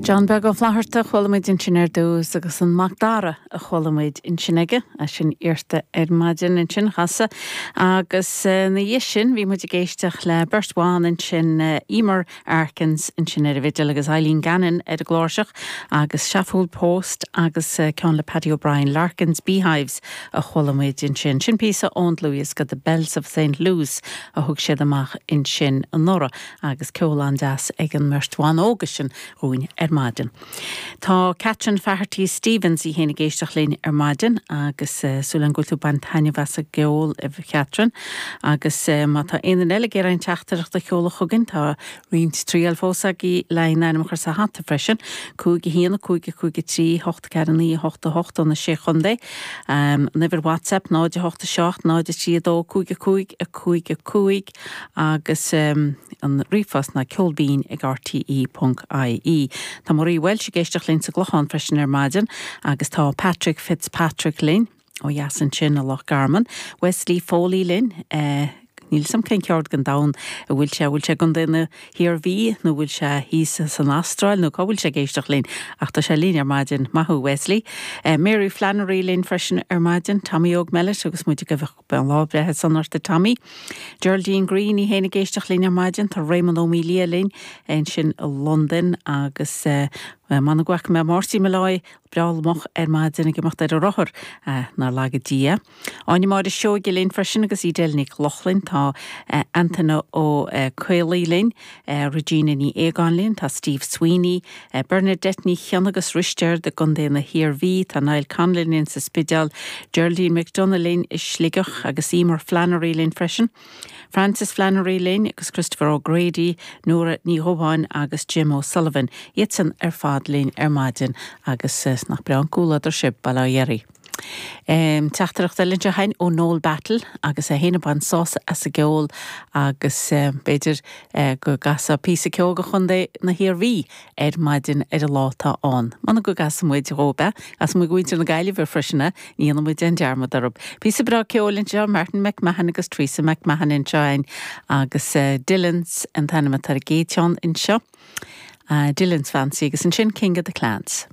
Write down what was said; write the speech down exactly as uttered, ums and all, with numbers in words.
John Beag Ó Flatharta a chuala muid ansin ar dtús agus an Macdara a chuala muid ansin aige é sin iarrta ar maidin ansin chasadh agus ina dhiaidh sin bhí muid ag éisteacht le beirt bhan ansin Emer Arkins ansin ar an bhfidil agus Eileen Gannon ar an gcláirseach agus Seafúil Post agus ceann le Paddy O'Brien Larkins Beehives a chuala muid ansin. Sin píosa ón dlúthdhiosca The Bells of St. Louis a thug siad amach ansin anuraidh agus ceol an-deas ag an mbeirt bhan óga sin dhúinn ar maidin. Tá Catherine Faherty Stevens í féin ag éisteacht linn ar maidin agus uh, súil agam go bhfuil tú ag baint taitneamh as an gceol a Catherine agus uh, má tá aon eile ag iarraidh teachtaireacht a sheoladh chugainn tá roinnt triail fós agaibh le hainm a chur sa hata freisin, cúig a haon cúig cúig trí hocht ceathair naoi hocht hocht ó na sé chontae. Um, Uimhir WhatsApp náid hocht seacht náid trí dó cúig cúig a cúig a cúig agus um, an ríomhphost ná ceolbinn ag rte.ie. Tá Marie Welsh ag éisteacht linn sa gClochán freisin ar maidin agus tá Patrick Fitzpatrick linn ó dheas ansin i Loch Garman, Wesley Foley linn eh, Níl a fhios agam cén ceard den domhan a bhfuil sé bhfuil sé i gContae na hIarmhí nó bhfuil sé thíos san Astráil nó cá bhfuil sé ag éisteacht linn ach tá sé linn ar maidin maith thú Wesley. Uh, Mary Flannery linn freisin ar maidin, Tommy Óg Mellet agus muid go an lá breithe sona ort Tommy. Geraldine Green í féin ag éisteacht linn ar maidin, tá Raymond Ó Mília linn ansin i London agus uh, man gach me Marty Malloy breá moch ar maidin ag imeacht ar a rothar uh, nár laga Dia. Áine Máire Seoige linn freisin agus Edel Nic Lochlainn tá uh, Antaine Ó uh, Caolaí linn, uh, Regina Ní Éagáin linn, tá Steve Sweeney, uh, Bernadette Ní Cheann agus Risteard i gContae na hIarmhí, tá Niall Conlon linn sa Spidéal, Geraldine McDonagh linn i Sligeach agus Emer Flannery linn freisin. Francis Flannery linn agus Christopher O'Grady, Nora Ní Dhubháin agus Jim O'Sullivan, iad san ar fad linn ar maidin agus uh, nach breá an comhluadar sibh bail ó Dhia oraibh. Um, Teachtaireacht eile chugainn ó Noel Battle agus é féin ag baint sásamh as an gceol agus uh, b'fhéidir uh, go gcasfá píosa ceoil do Chontae na hIarmhí ar maidin ar an lá atá ann. Mana go gcasfaidh muid dhóibh agus mu gúintir na Gaillimhe freisin ní muid an dearmad orthu. Píosa breá ceoil anseo Martin McMahon agus Teresa McMahon anseo agus uh, Dylan's an t-ainm atá ar an gcéad cheann anseo. Uh, Dylan's Fancy agus ansin King of the Clans.